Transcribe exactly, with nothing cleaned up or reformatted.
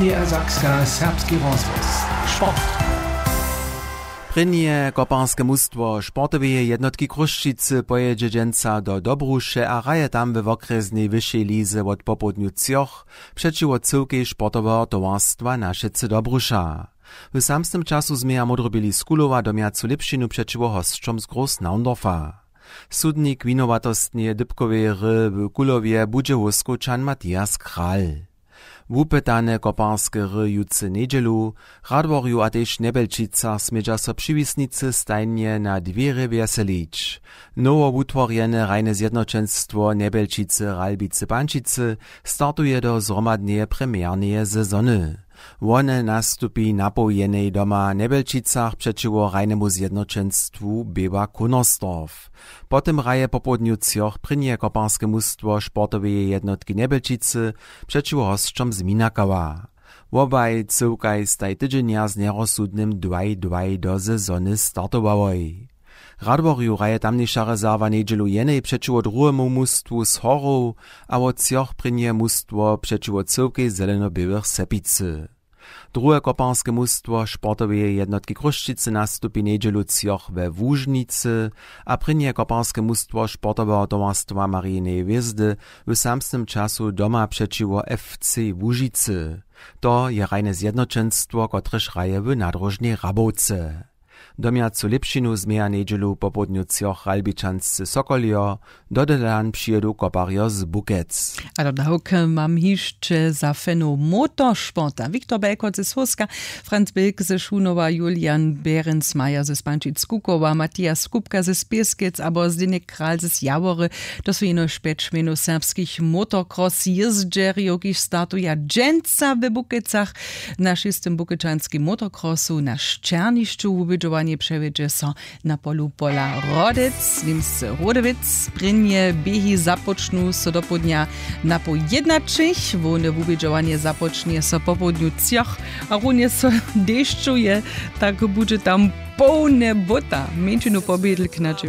Niedersachska serbski rozhłos. Sport. Prěnje koparske mustwo sportoweje jednotki Chrósćicy pojědźe dźensa do Dobruše a hraje tam we wokrjesnej wyšej lize wot popołdnju třoch přećiwo cyłkej sportoweho towarstwa Našecy Dobruša. W samsnym času změja módroběli z Kulowa domjacu lěpšinu přećiwo hosćom z Großnaundorfa. Sudnik winowatostneje dypkoweje hry w Kulowje budźe hóskowčan Matthias Kral. Wupytane koparske hry jutře njedźelu w Radworju a tež w Njebjelčicach smědźa so přiwisnicy stajnje na dwěrje wjeselić. Nowowutworjene hrajne zjednoćenstwo Njebjelčicy Ralbicy Pančicy startuje do zhromadneje premjerneje sezony. Wone nastupi napoł jenej doma w Njebjelčicach přećiwo hrajnemu zjednoćenstwu Běła Kunersdorf. Po tym hraje popołdnju třoch prěnje koparske mustwo sportoweje jednotki Njebjelčicy přećiwo hosćom z Minakała. Wobaj cyłkaj staj tydźenja z njerozsudnym dwaj dwaj do sezony startowałoj. W Radworju hraje tamniša rezerwa njedźelu jenej přećiwo druhemu mustwu z Horow a wot třoch prěnje mustwo přećiwo cyłkej zelenoběłych Sepicy. Druhe koparske mustwo sportoweje jednotki Chrósćicy nastupi njedźelu třoch we Łužnicy a prěnje koparske mustwo sportoweho towarstwa Marineje hwězdy w samsnym času doma přećiwo F C Łužicy. To je hrajne zjednoćenstwo, kotrež hraje w nadróžnej Hrabowce. Domjacu lěpšinu změja njedźelu popołdnju třoch Ralbičanscy Sokoljo, do Dodelan přijědu koparjo z Bukec. A dodawk mam hišće za fanow motorsporta: Wiktor Belkot ze Słowska, Franz Bilk ze Šunowa, Julian Behrensmeyer ze Spančic-Kukowa, Matthias Kupka ze Spěskec abo Zdeněk Kral z Jawory. To su jenož pjeć mjenow serbskich motocross jězdźerjow, kiž startuja dźensa w Bukecach. Na šěstym bukečanskim motocrossu na Šćernišću wubědźowanje přewjedźe so na polu pola Rodec, Němsce Rodewitz. Prěnje běhi započnu so dopołdnja na poł jědnaćich. Hłowne wubědźowanje započnje so popołdnju třoch a runje so dešćuje, tak budźe tam połne bóta. Mjeńšinu pobědl knadźe